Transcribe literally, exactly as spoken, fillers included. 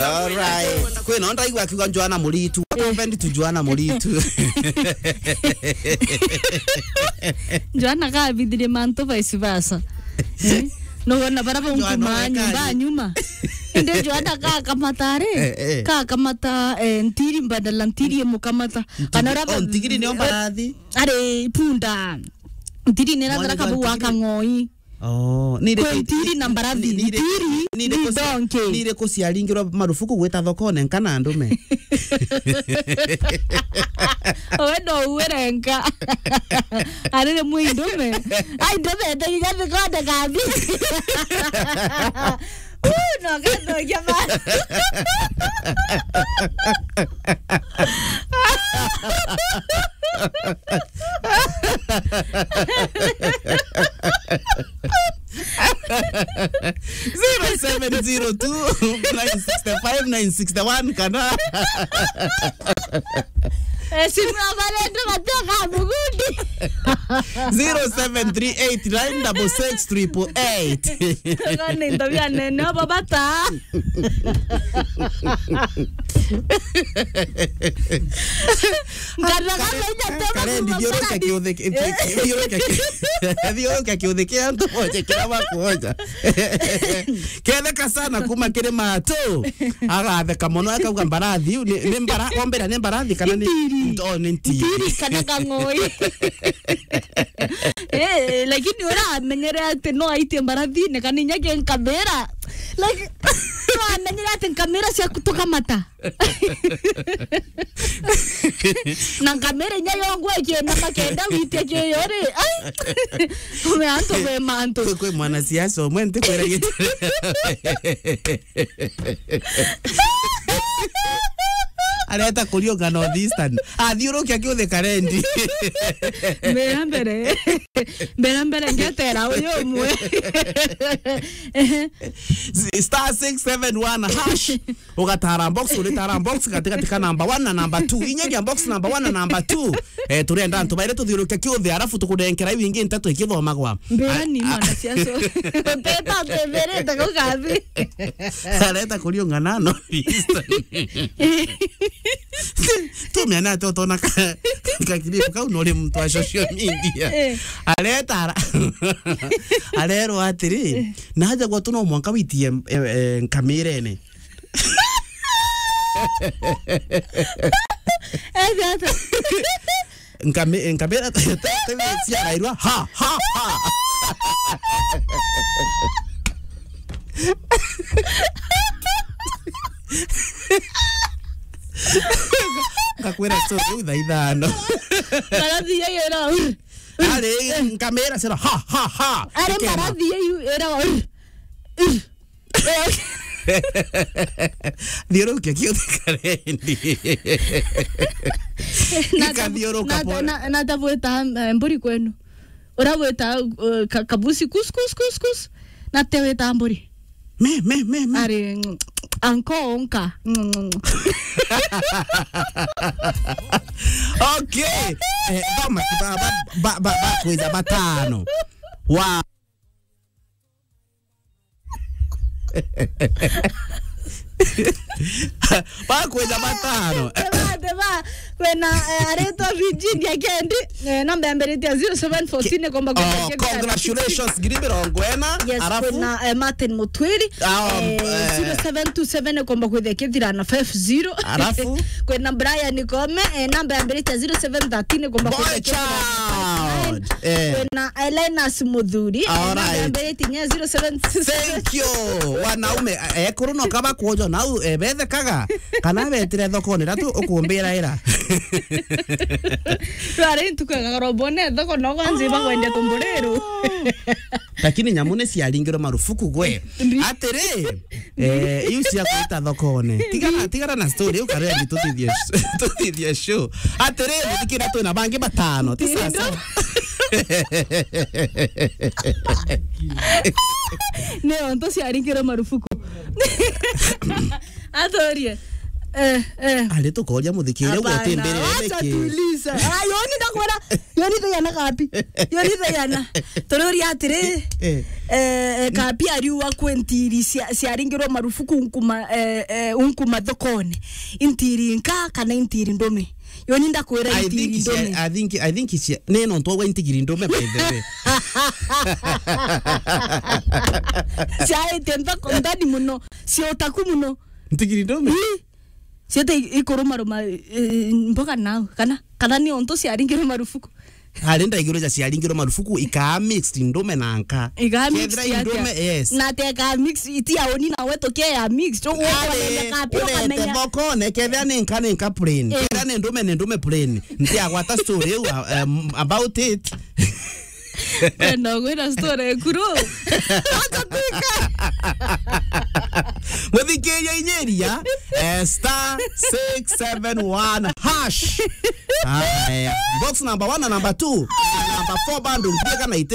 Alright. Kwina ndaigua akiuga Joana Muritu. What happened to Joana Muritu? Joana kabithire mantu vice versa. Eh? Nugona bara bungu Joana ma nyumba wekaje? Nyuma. Indi Joana kakamata ri? Eh, eh. Kakamata, eh, ntiri mbadala ntiri imukamata. Kana Ntiri-, raba-, oh, ntigiri nio mbarathi? Ari punda. Ntiri nira Mwana thara kabu wa ntigiri? Kang'oi. Oh, ni ire-, kwe ntiri na mbarathi. Ni, ni ire-, ntiri ni ire-, ni kucia-, donke. Ni ire kuciaringirwa marufuku gwita thokone nka na ndume. Owe no uwe renka. Arire mwi ndume. Ai, ndume, ndegiga thikonde kathi. Uu, no gathogia ma. Zero seven zero two, nine six five, nine six one kana Eh, simu ya Valentino mateka mugundi. Zero seven three eight nine double six triple eight. Ngone ndo bia nene obo bata. Ngataga Karendi, thiurukia kiuthi ki-, ki-, ki-, thiurukia ki-, thiurukia kiuthi kia antu boje kira bakuoja. Ketheka sana kuma kiri matu. Agatheka mono, akauga, "Mbarathi, ni, ni mbara-, ombira ni mbarathi kana ni ntiri? Ndo ni ntiri." Ntiri kana kang'oi. Eh, lakini uramenyere ati no aitie mbarathi, ni kana inya ki nkamira. Like, uramenyere ati nkamira cia kutukamata. Na nkamira inya yongwe ikienama kenda witie kiyo ri. Ai. Ume antu kwe mantu. Kwi, kwi mwanasiasa umwe ntikwira gitu. Areta kuriunga North Eastern. Athiurukia kiuthi Karendi. Mbera mbere. Mbera mbere ngetera uyu umwe. Star six seven one hash. Ugatara box, uritara box, gati gati ka number one na number two. Inyeria box number one na number two. Eh, turenda antu baire tuthiurukia kiuthi, arafu tukunenkera iu ingi ntatu ikithomagwa. Mbera ni mwanasiasa. Teta teberete kau kathi. Areta kuriunga na North Eastern. Tumiana ati utona ka, ka clip kau nuri muntu wa social media. Eh. Areta ara-, arerwa atiri, eh, naja gwetu no mwanka witie, eh, eh, nkamirene. Eh, tata. Nkami-, nkamira te-, te-, te-, ciarairwa, ha, ha, ha. Ngakwira story riu thaa ithano. Mbarathi yayo ira, ur, ur. Ari, nkamira cira, ha, ha, ha. Ari, ikema. Mbarathi yayo ira, ur, ur. Thiurukia kiuthi Karendi. Na ta-, ikathiuruka na ta-, pole. Na, na ta bwita, eh, mburi kwenu. Ura wita, eh, ka-, kabusi kus, kus, kus, kus. Na te wita mburi. Me, me, me, me. Ari, mm, anko onka. Mm. Okay. Eh, thoma ki ba, ba, ba, ba, ba, kwija batano. Wa Bakwija batano. Teba, teba, kwina, eh, aretwa Virginia Kendi, eh, namba yambiritie zero seven fourteen ikomba kwithia. Oh, congratulations, ngiri mirongo ina. Yes, arafu? Kwina, eh, Martin Mutwiri, ah, eh, eh, zero seven two seven ikomba kwithia kithira na five zero. Arafu? Kwina Brian Kome, eh, namba yambiritie zero seven thirteen ikomba kwithia kithira na five nine. Boy child. Eh. Kwina Linus Muthuri, eh, namba yambiritie kinya zero seven. Thank you. Wanaume, eh, ekuru no kaba kuojo nau, eh, bethekaga. Kana betire thokone, ratu ukumbira ira. Twari ntuku ya Karobone, thoko no kwanza iba kwendia tumburiru. Lakini nyamu ni ciaringirwe marufuku gwe. Mbi. Atiri, eh, iu cia gwita thokone. Tigana, tigana na story, iu Karendi tuthithie, tuthithie show. Atiri, muthikira twina bangi batano. Ti sasa. Nio nto ciaringirwe marufuku. Aturie. Eh, eh. Ari tukoria muthikiri ugu Hapana, atimberere wacha niki? Tuliza. Ah, yoni ndakwira, yoni thayana kapi. Yoni thayana. Tururia atiri, Eh. eh, eh, kapi ariuga kwi ntiri cia-, ciaringirwo marufuku nkuma, eh, eh, nkuma thokone. Intiri nka kana intiri ndume? Yoni ndakwira I intiri think cia-, ndume. I think, I think cia-, ni nontu wa intigiri ndume, by the way. Ciaite nthoko ndani muno, cia utaku muno. Ntigiri ndume? Ii. Ciete i-, ikurumaruma, eh, mboga nau, kana, kana ni ontu ciaringirwe marufuku? Ari ndaiguru ja ciaringirwe marufuku, ikaa mixed ndume na nka. Ikaa mixed. Kethira i atia? Ndume, yes. Na te ka mix, iti ya uni nawe tukia ya mix. Tu Ari, ukamenya kapi, urete ukamenya. Thokone, kethira ni nka, ni nka plain. Eh. Kethira ni ndume, ni ndume plain. Ntiagwata story iu, uh, um, about it. Wenda gwira story ekuru. Watatwika. Muthikiria inyiria, eh, star six seven one hash. Aya. Box number one na number two. Na number four bado ndio kana itire